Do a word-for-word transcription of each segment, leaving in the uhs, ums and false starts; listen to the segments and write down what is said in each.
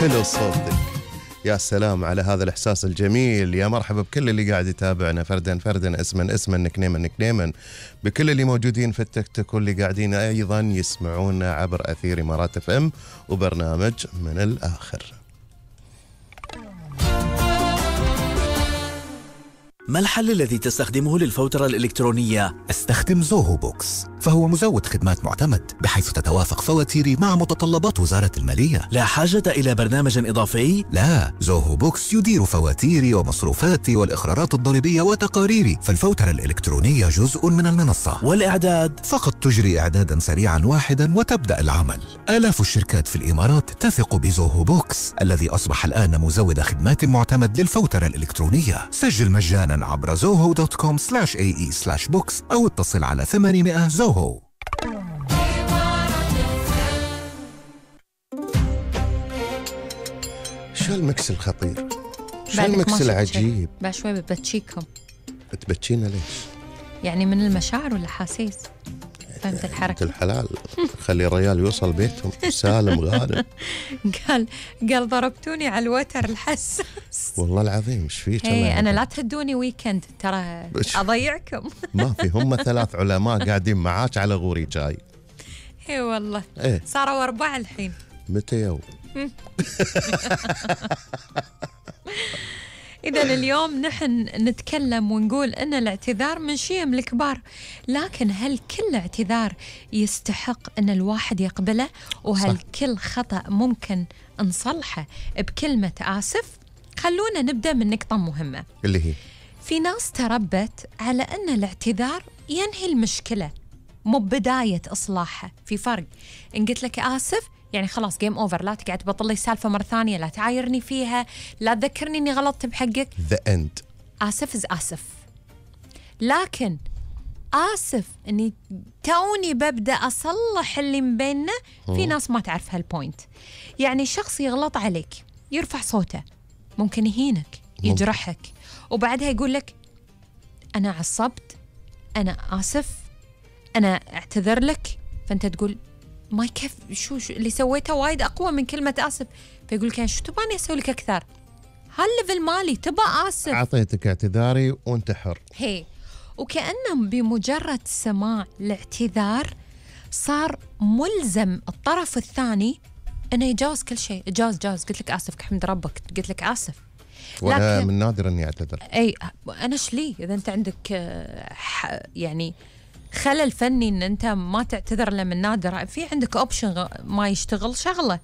حلو صوتك، يا سلام على هذا الإحساس الجميل. يا مرحبا بكل اللي قاعد يتابعنا فردا فردا، اسما اسما، نكنيما نكنيما، بكل اللي موجودين في التيك توك واللي قاعدين أيضا يسمعونا عبر أثير إمارات اف ام وبرنامج من الآخر. ما الحل الذي تستخدمه للفوترة الإلكترونية؟ استخدم زوهو بوكس، فهو مزود خدمات معتمد بحيث تتوافق فواتيري مع متطلبات وزارة المالية. لا حاجة إلى برنامج إضافي؟ لا، زوهو بوكس يدير فواتيري ومصروفاتي والإقرارات الضريبية وتقاريري، فالفوترة الإلكترونية جزء من المنصة. والإعداد؟ فقط تجري إعدادا سريعا واحدا وتبدأ العمل. آلاف الشركات في الإمارات تثق بزوهو بوكس الذي أصبح الآن مزود خدمات معتمد للفوترة الإلكترونية. سجل مجانا عبر زوهو دوت كوم سلاش اي اي سلاش بوكس أو اتصل على ثمانمائة زوهو. شو المكس الخطير؟ شو المكس العجيب؟ بعد شوي بتبتشيكم. بتبتشينا ليش؟ يعني من المشاعر والأحاسيس. فهمت الحركة؟ الحلال خلي الرجال يوصل بيتهم سالم غانم. قال قال ضربتوني على الوتر الحساس. والله العظيم ايش فيك؟ اي انا لا تهدوني ويكند ترى اضيعكم. ما في، هم ثلاث علماء قاعدين معاك على غوري جاي. اي والله ايه صاروا أربعة الحين. متى يوم؟ إذا اليوم نحن نتكلم ونقول أن الاعتذار من شيم الكبار، لكن هل كل اعتذار يستحق أن الواحد يقبله؟ وهل صح. كل خطأ ممكن نصلحه بكلمة آسف؟ خلونا نبدأ من نقطة مهمة اللي هي في ناس تربت على أن الاعتذار ينهي المشكلة مو بداية إصلاحها. في فرق، إن قلت لك آسف يعني خلاص جيم أوفر، لا تقعد تبطل لي السالفة مرة ثانية، لا تعايرني فيها، لا تذكرني إني غلطت بحقك. The end. آسف إز آسف. لكن آسف إني توني ببدأ أصلح اللي مبيننا، في ناس ما تعرف هالبوينت. يعني شخص يغلط عليك، يرفع صوته، ممكن يهينك، يجرحك، وبعدها يقول لك أنا عصبت، أنا آسف، أنا أعتذر لك. فأنت تقول ما كيف، شو, شو اللي سويته وايد أقوى من كلمة آسف. فيقول لك شو تباني أسوي لك أكثر؟ هالليفل مالي تبى آسف، أعطيتك اعتذاري وأنت حر. هي وكأنه بمجرد سماع الاعتذار صار ملزم الطرف الثاني أنه يجاوز كل شيء. جاوز جاوز قلت لك آسف، حمد ربك قلت لك آسف. وأنا من نادر أني أعتذر. أي أنا شلي إذا أنت عندك يعني خلل فني ان انت ما تعتذر له من نادر، في عندك اوبشن ما يشتغل شغله.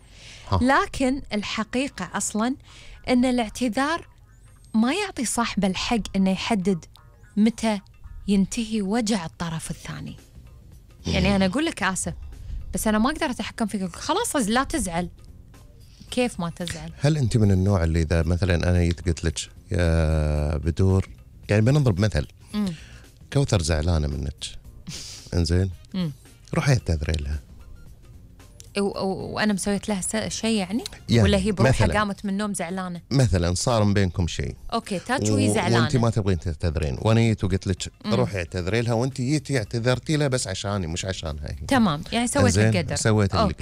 لكن الحقيقه اصلا ان الاعتذار ما يعطي صاحب الحق انه يحدد متى ينتهي وجع الطرف الثاني. يعني انا اقول لك اسف بس انا ما اقدر اتحكم فيك، خلاص لا تزعل. كيف ما تزعل؟ هل انت من النوع اللي اذا مثلا انا جيت قلت لك يا بدور، يعني بنضرب مثل، مم. كوثر زعلانه منك، انزين روحي اعتذري لها، وانا مسويت لها شيء يعني؟, يعني ولا هي بروحها قامت من النوم زعلانه مثلا، صار بينكم شيء اوكي تاتش وهي زعلانه وانت ما تبغين تعتذرين، وانا جيت وقلت لك روحي اعتذري لها، وانت جيتي اعتذرتي لها بس عشاني مش عشانها هي. تمام، يعني سويت القدر، سويت القدر.